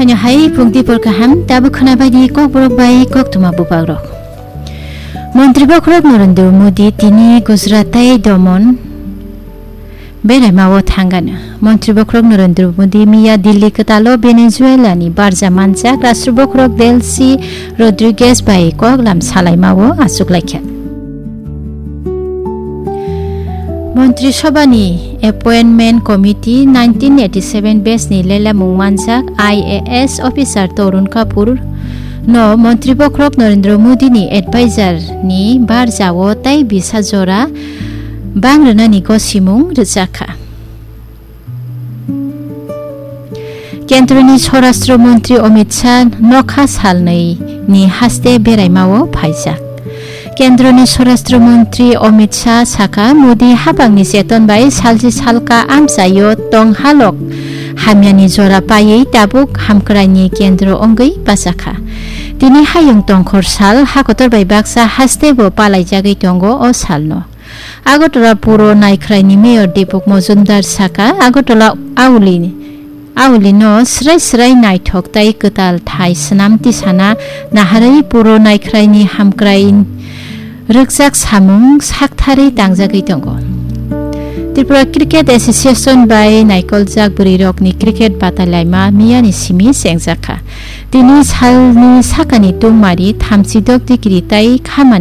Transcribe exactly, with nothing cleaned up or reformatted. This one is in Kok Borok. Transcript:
Ano hai pungti por kaham, tabuk khwnabaidi kokborok bai koktwma bubagrok. Montri bokhorok Narendra Modi tini Gujarat tei Daman beraimao thangano. Montri bokhorok Narendra Modi miya Delhi kwtalo Venezuela ni barja manjak Rashtra bokhorok Delcy Rodriguez bai koklam salaimao achuklaikha. Montri Sobhani Appointment Committee nineteen eighty-seven batch ni lelemung manjak I A S officer Tarun Kapoor no Montri bokhorok Narendra Modi ni advisor ni barjao tei bisa jora bang rwnani gosimung rwjakha. Kendroni Swarashtra Montri Amit Shah nokha salnwi ni haste beraimao phaijak. Kendroni Swarashtra Montri Amit Shah sakha, Modi hapangni cheton bai salchi salka amchaio tong halok hamyani jora paiwi tabuk hamkraini kendro wngwi bachakha. Tini hayung tongkhor sal, hakotor bai baksa haste bo palaijagwi tongo o salno. Agartala puro naikhraini mayor Deepak Majumdar saka, Agartala auli, aulino srai srai naithok tei kwtal thai swnam tisana naharwi puro naikhraini hamkrai rwkjak samung saktharwi tangjagwi tongo. Tripura Cricket Association bai naikoljak bwrwirokni cricket batailaima miyani simi chengjakha. Tini salni sakani tungmari thamchi dok degree tei khamani